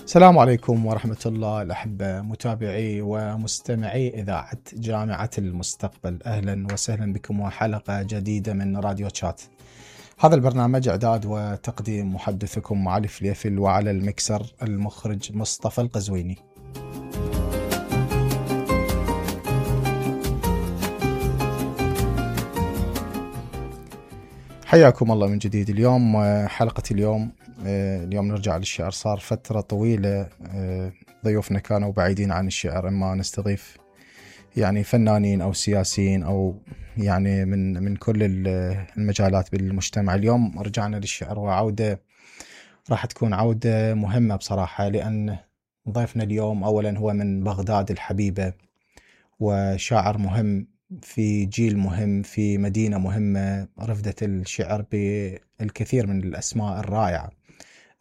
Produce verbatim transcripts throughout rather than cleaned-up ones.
السلام عليكم ورحمة الله الأحبة متابعي ومستمعي إذاعة جامعة المستقبل. أهلا وسهلا بكم وحلقة جديدة من راديو تشات. هذا البرنامج إعداد وتقديم محدثكم معالي فليفل، وعلى المكسر المخرج مصطفى القزويني. حياكم الله من جديد. اليوم حلقة اليوم اليوم نرجع للشعر. صار فترة طويلة ضيوفنا كانوا بعيدين عن الشعر، اما نستضيف يعني فنانين او سياسيين او يعني من من كل المجالات بالمجتمع. اليوم رجعنا للشعر، وعودة راح تكون عودة مهمة بصراحة، لأن ضيفنا اليوم أولا هو من بغداد الحبيبة، وشاعر مهم في جيل مهم في مدينة مهمة رفدت الشعر بالكثير من الأسماء الرائعة.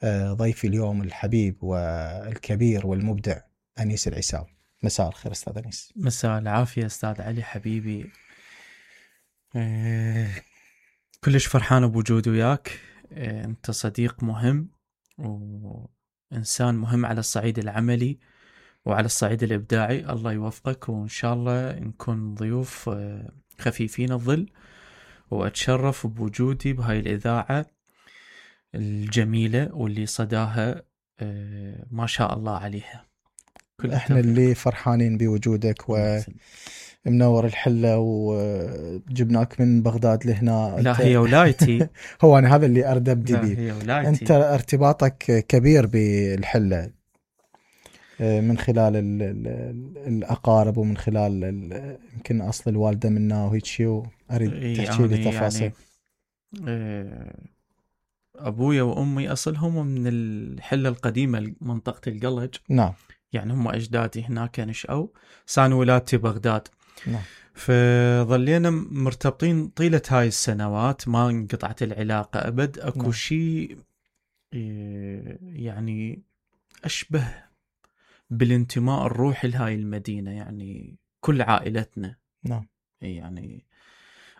ضيفي اليوم الحبيب والكبير والمبدع أنيس العساوي. مساء الخير أستاذ أنيس. مساء العافية أستاذ علي حبيبي. أه كلش فرحان بوجودي وياك. أه أنت صديق مهم وإنسان مهم على الصعيد العملي وعلى الصعيد الإبداعي. الله يوفقك، وإن شاء الله نكون ضيوف أه خفيفين الظل، وأتشرف بوجودي بهاي الإذاعة الجميلة واللي صداها أه ما شاء الله عليها. احنا اللي فرحانين بوجودك ومنور الحلة، وجبناك من بغداد لهنا. لا هي ولايتي. هو أنا هذا اللي أرد أبدي لا هي ولايتي. أنت ارتباطك كبير بالحلة من خلال ال ال الأقارب، ومن خلال يمكن أصل الوالدة منا وهيك شيء، وأريد تحكي لي تفاصيل. يعني أبويا وأمي أصلهم من الحلة القديمة منطقة القلج. نعم. يعني هم أجدادي هناك نشأوا، سان ولادتي بغداد. نعم. فظلينا مرتبطين طيلة هاي السنوات، ما انقطعت العلاقة أبد. أكو نعم. شيء يعني أشبه بالانتماء الروحي لهاي المدينة، يعني كل عائلتنا. نعم. يعني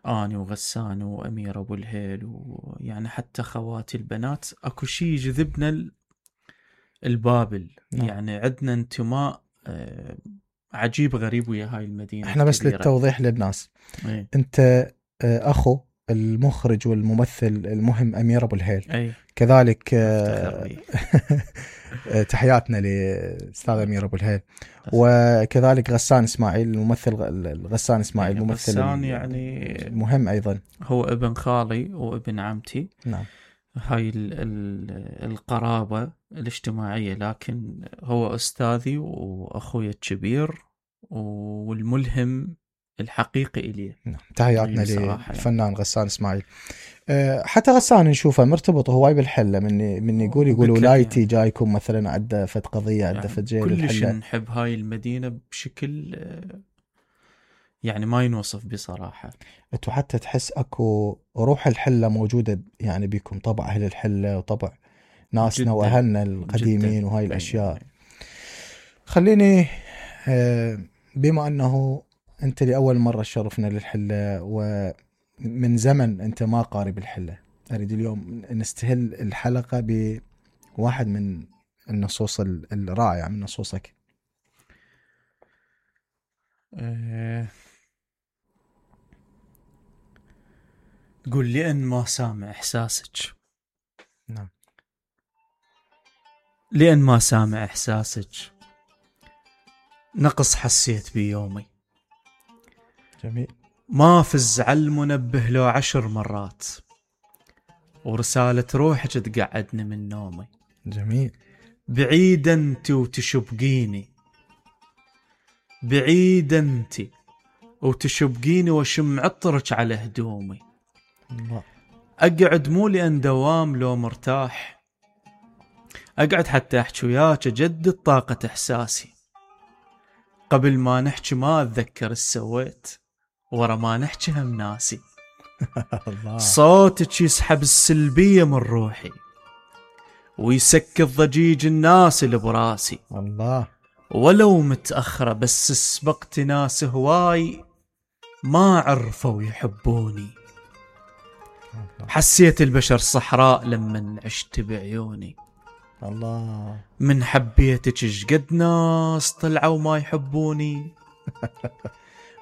أنا وغسان وأميرة أبو الهيل، ويعني حتى خواتي البنات، أكو شيء يجذبنا البابل. نعم. يعني عندنا انتماء عجيب غريب ويا هاي المدينة. احنا بس كبيرة. للتوضيح للناس، ايه؟ انت أخو المخرج والممثل المهم أمير أبو الهيل. ايه؟ كذلك تحياتنا لأستاذ أمير أبو الهيل. وكذلك غسان إسماعيل الممثل، غسان إسماعيل الممثل غسان يعني مهم أيضا، هو ابن خالي وابن عمتي. نعم. هاي ال ال القرابة الاجتماعية، لكن هو أستاذي وأخوي الكبير والملهم الحقيقي إلي. نعم. تحياتنا للفنان يعني. غسان إسماعيل. أه حتى غسان نشوفه مرتبط هواي بالحلة، من من يقول يقول ولايتي يعني. جايكم مثلا عدة فت قضية عدة يعني فت جيل الحلة. كلش نحب هاي المدينة بشكل يعني ما ينوصف بصراحة. انتو حتى تحس اكو روح الحلة موجودة يعني بيكم، طبع اهل الحلة وطبع ناسنا واهلنا القديمين جداً. وهاي الاشياء. خليني بما انه انت لأول مرة شرفنا للحلة، ومن زمن انت ما قارب الحلة، اريد اليوم نستهل الحلقة بواحد من النصوص الرائعة من نصوصك. أه تقول لي أن ما سامع إحساسك. نعم. لأن ما سامع إحساسك نقص حسيت بيومي. جميل. ما فز على المنبه لو عشر مرات، ورسالة روحك تقعدني من نومي. جميل. بعيد أنت وتشبقيني، بعيد أنت وتشبقيني، وشم عطرك على هدومي. الله. أقعد مو لأن دوام لو مرتاح، أقعد حتى أحكي وياك أجدد طاقة إحساسي. قبل ما نحكي ما أتذكر السويت، ورا ما نحكي هم ناسي. صوتك يسحب السلبية من روحي، ويسكت ضجيج الناس اللي براسي. الله. ولو متأخرة بس سبقت ناس هواي ما عرفوا يحبوني. حسيت البشر صحراء لما عشت بعيوني. الله. من حبيتك شقد ناس طلعوا ما يحبوني.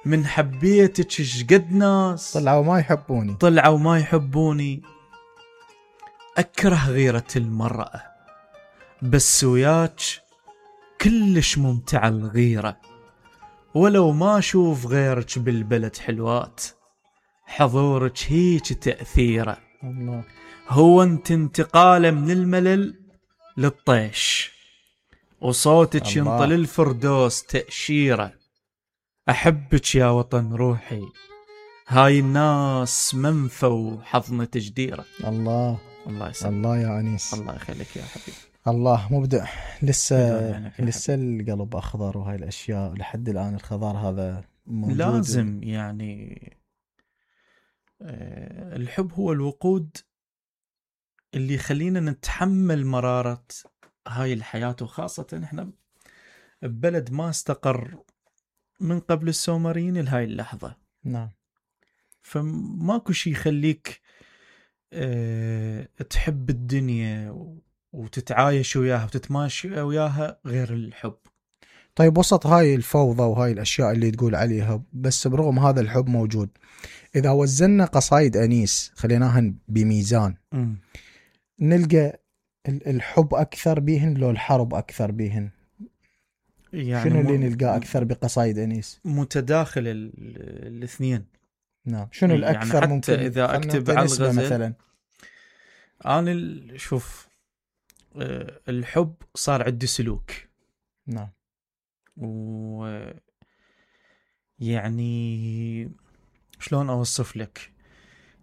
من حبيتك شقد ناس طلعوا ما يحبوني. طلعوا ما يحبوني. أكره غيرة المرأة بس وياك كلش ممتع الغيرة. ولو ما أشوف غيرك بالبلد حلوات حضورك هيك تأثيره. الله. هو انت انتقاله من الملل للطيش وصوتك الله. ينطل الفردوس تأشيره. أحبك يا وطن روحي هاي الناس منفى وحضنة جديرة. الله. الله يسلمك. الله يا أنيس. الله يخليك يا حبيبي. الله مبدع. لسه يعني لسه القلب أخضر وهاي الأشياء لحد الآن الخضار هذا موجود. لازم يعني الحب هو الوقود اللي يخلينا نتحمل مرارة هاي الحياة، وخاصة احنا ببلد ما استقر من قبل السومريين لهاي اللحظة. نعم. فماكو شي يخليك اه تحب الدنيا وتتعايش وياها وتتماشى وياها غير الحب. طيب وسط هاي الفوضى وهاي الأشياء اللي تقول عليها، بس برغم هذا الحب موجود، إذا وزننا قصايد أنيس خليناها بميزان م. نلقى الحب أكثر بيهن لو الحرب أكثر بيهن؟ يعني شنو اللي نلقاه أكثر بقصايد أنيس؟ متداخل الاثنين. نعم. شنو الأكثر؟ يعني ممكن إذا أكتب على الغزل مثلا. أنا شوف الحب صار عندي سلوك. نعم. و يعني شلون أوصف لك،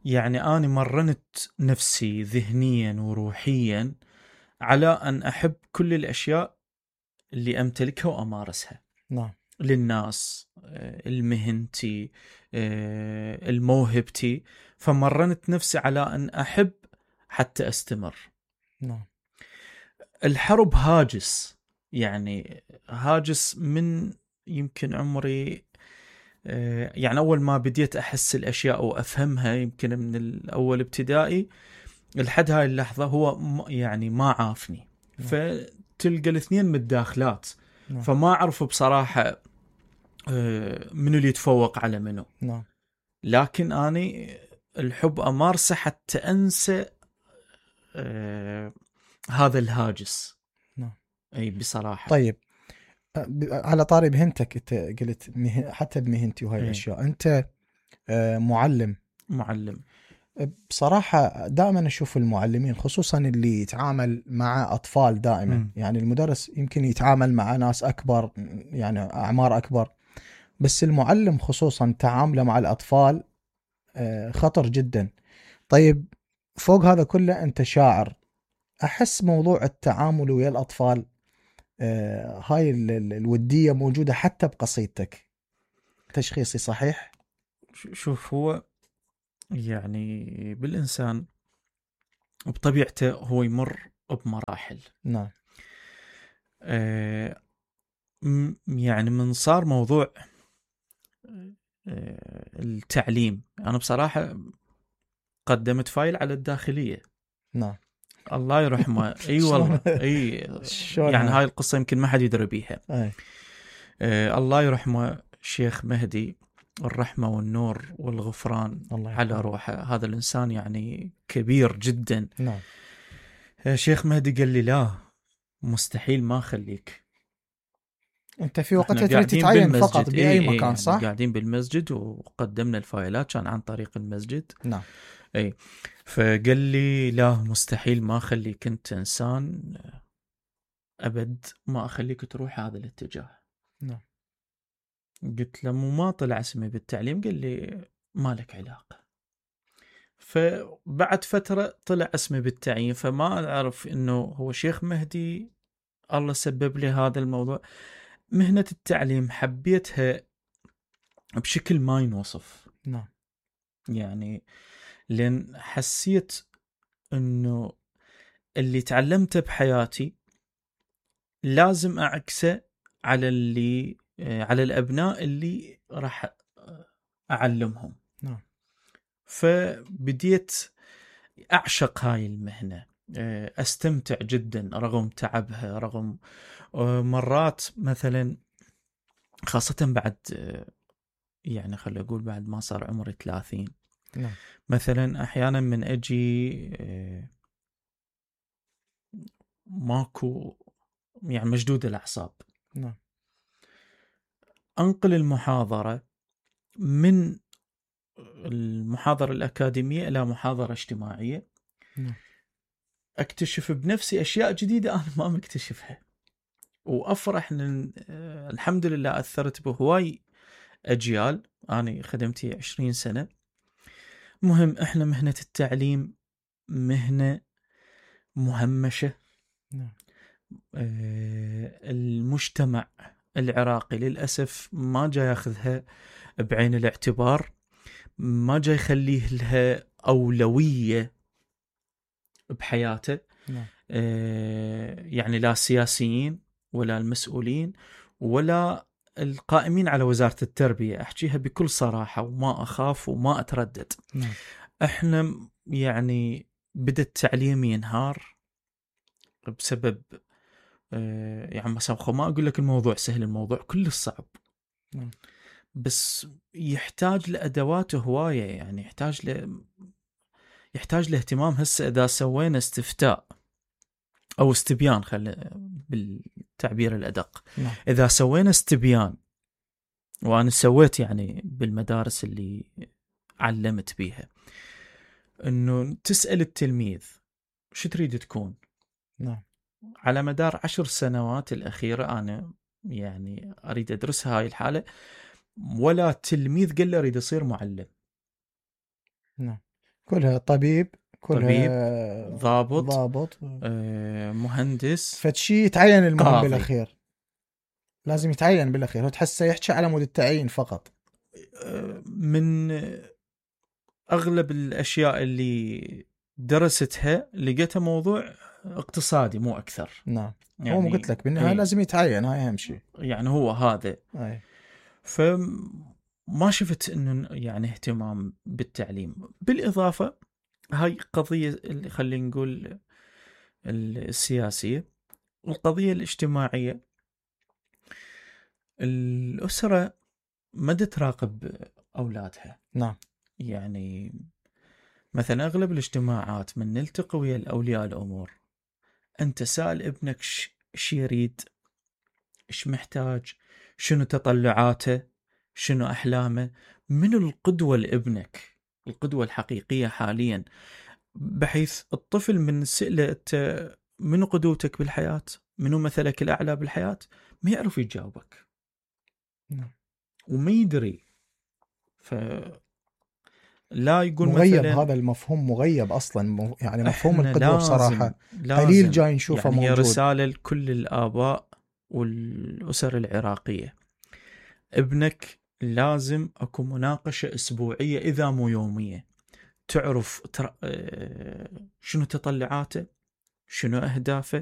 يعني أنا مرنت نفسي ذهنيا وروحيا على أن أحب كل الأشياء اللي أمتلكها وأمارسها. نعم. للناس، المهنتي، الموهبتي، فمرنت نفسي على أن أحب حتى أستمر. نعم. الحرب هاجس، يعني هاجس من يمكن عمري، يعني أول ما بديت أحس الأشياء وأفهمها يمكن من الأول ابتدائي لحد هاي اللحظة هو يعني ما عافني. نعم. فتلقى الاثنين متداخلات. نعم. فما أعرف بصراحة منو اللي يتفوق على منو. نعم. لكن أنا الحب أمارسه حتى أنسى آه هذا الهاجس. نعم. أي بصراحة. طيب على طاري مهنتك، أنت قلت مهن حتى بمهنتي وهاي الأشياء، أنت معلم. معلم. بصراحة دائما أشوف المعلمين خصوصا اللي يتعامل مع أطفال دائما م. يعني المدرس يمكن يتعامل مع ناس أكبر، يعني أعمار أكبر، بس المعلم خصوصا تعامله مع الأطفال خطر جدا. طيب فوق هذا كله أنت شاعر، أحس موضوع التعامل ويا الأطفال هاي الودية موجودة حتى بقصيدتك. تشخيصي صحيح؟ شوف، هو يعني بالإنسان بطبيعته هو يمر بمراحل. نعم. آه يعني من صار موضوع آه التعليم، أنا بصراحة قدمت فايل على الداخلية. نعم. الله يرحمه. اي والله اي يعني هاي القصة يمكن ما حد يدري بيها. أي. آه الله يرحمه شيخ مهدي، الرحمة والنور والغفران على روحه. هذا الإنسان يعني كبير جدا. نعم. آه شيخ مهدي قال لي لا مستحيل ما خليك. انت في وقتها تريد تتعين فقط بأي اي مكان اي صح؟ قاعدين بالمسجد وقدمنا الفايلات كان عن طريق المسجد. نعم. اي فقال لي لا مستحيل ما اخليك، انت انسان ابد ما اخليك تروح هذا الاتجاه. نعم. قلت له مو ما طلع اسمي بالتعليم؟ قال لي ما لك علاقة. فبعد فترة طلع اسمي بالتعيين، فما اعرف انه هو شيخ مهدي الله سبب لي هذا الموضوع. مهنة التعليم حبيتها بشكل ما ينوصف. نعم. يعني لأن حسيت أنه اللي تعلمته بحياتي لازم أعكسه على اللي على الأبناء اللي راح أعلمهم. نعم. فبديت أعشق هاي المهنة، أستمتع جدا رغم تعبها، رغم مرات مثلا خاصة بعد يعني خلي أقول بعد ما صار عمري ثلاثين. نعم. مثلا أحيانا من أجي ماكو يعني مشدود الأعصاب، نعم. أنقل المحاضرة من المحاضرة الأكاديمية إلى محاضرة اجتماعية. نعم. أكتشف بنفسي أشياء جديدة أنا ما مكتشفها، وأفرح إن الحمد لله أثرت بهواي أجيال. أنا خدمتي عشرين سنة. مهم إحنا مهنة التعليم مهنة مهمشة. نعم. المجتمع العراقي للأسف ما جاي ياخذها بعين الاعتبار، ما جاي يخليه لها أولوية بحياته. نعم. يعني لا السياسيين ولا المسؤولين ولا القائمين على وزارة التربية، أحكيها بكل صراحة وما أخاف وما أتردد. نعم. إحنا يعني بدأ التعليم ينهار بسبب يعني مثلا ما أقول لك الموضوع سهل، الموضوع كل صعب. نعم. بس يحتاج لأدوات هواية، يعني يحتاج ل يحتاج لاهتمام. هسه إذا سوينا استفتاء أو استبيان، خلي بالتعبير الأدق، نعم. إذا سوينا استبيان، وأنا سويت يعني بالمدارس اللي علمت بيها، إنه تسأل التلميذ شو تريد تكون؟ نعم. على مدار عشر سنوات الأخيرة أنا يعني أريد أدرس هاي الحالة، ولا تلميذ قال له أريد أصير معلم. نعم. كلها طبيب، كلها طبيب، ضابط، ضابط، آه، مهندس، فتشي يتعين المهم قاضي. بالأخير لازم يتعين بالأخير. هو تحسه يحكي على مود التعيين فقط. من أغلب الأشياء اللي درستها لقيتها موضوع اقتصادي مو أكثر. نعم. يعني هو ما قلت لك بالنهاية لازم يتعين، هاي أهم شيء. يعني هو هذا. أي. فما شفت إنه يعني اهتمام بالتعليم. بالإضافة هاي قضية اللي خلينا نقول السياسية، والقضية الاجتماعية. الأسرة ما تراقب أولادها. نعم. يعني مثلا أغلب الاجتماعات من نلتقي ويا الأولياء الأمور، أنت سأل ابنك ش يريد، إيش محتاج، شنو تطلعاته، شنو أحلامه، من القدوة لابنك، القدوة الحقيقية حاليا، بحيث الطفل من سئله أنت منو قدوتك بالحياة، منو مثلك الأعلى بالحياة، ما يعرف يجاوبك. نعم. وما يدري. ف لا يقول مغيب مثلا هذا المفهوم، مغيب أصلا. يعني مفهوم إحنا القدوة لازم بصراحة لازم قليل جاي نشوفه يعني موجود. هي رسالة لكل الآباء والأسر العراقية. ابنك لازم أكو مناقشة أسبوعية إذا مو يومية، تعرف تر... شنو تطلعاته، شنو أهدافه،